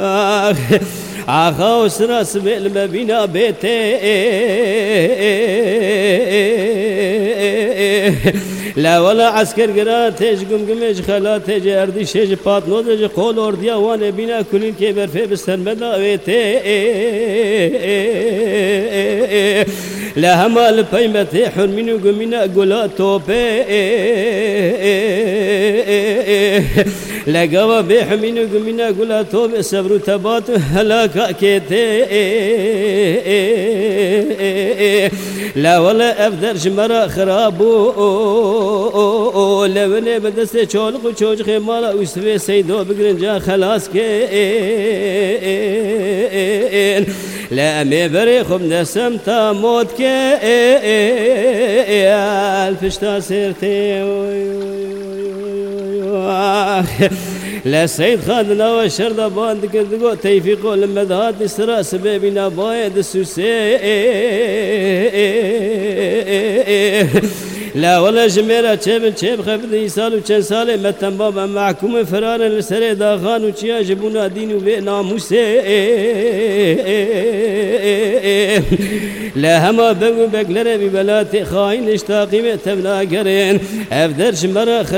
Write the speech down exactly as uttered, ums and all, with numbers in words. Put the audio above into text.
Ax, axa û sira sibê li me bîna bê tê. La wela esker gira tê ji gumgumê, ji xelatê, ji erdîşê, ji patnodê, ji qol ordiya wan ê bîna kulîlkê berfê bi ser me da wê tê. La hema li pey me tê hurmîn û gumîna gula topê. Legava bê hemîn û gumîna gula to bi sebr û tebat û helaka kê tê. La wele ev der ji me re xirab bû. Le winê bi destê çolix û çocixê mala Ûsivê Seydo bigirin ca xelas kên. Le em ê berê xwe bi desem ta mot ke el pişta ser tê. Le Seyd Xan di nava şer de ban dikir, digot, Teyfîqo, li me dihatî sira sibê bîna bayê di sûsê. La wele ji mêra çêbin, çêbixebidin, îsal û çend salê me temba be, mehkûmê firarin li serê daxan û çiya ji bûna dîn û vê namûsê. Le hema beg û beglerê vî welatê xayîn ji taqîmê tevnagerin. Ev der ji me re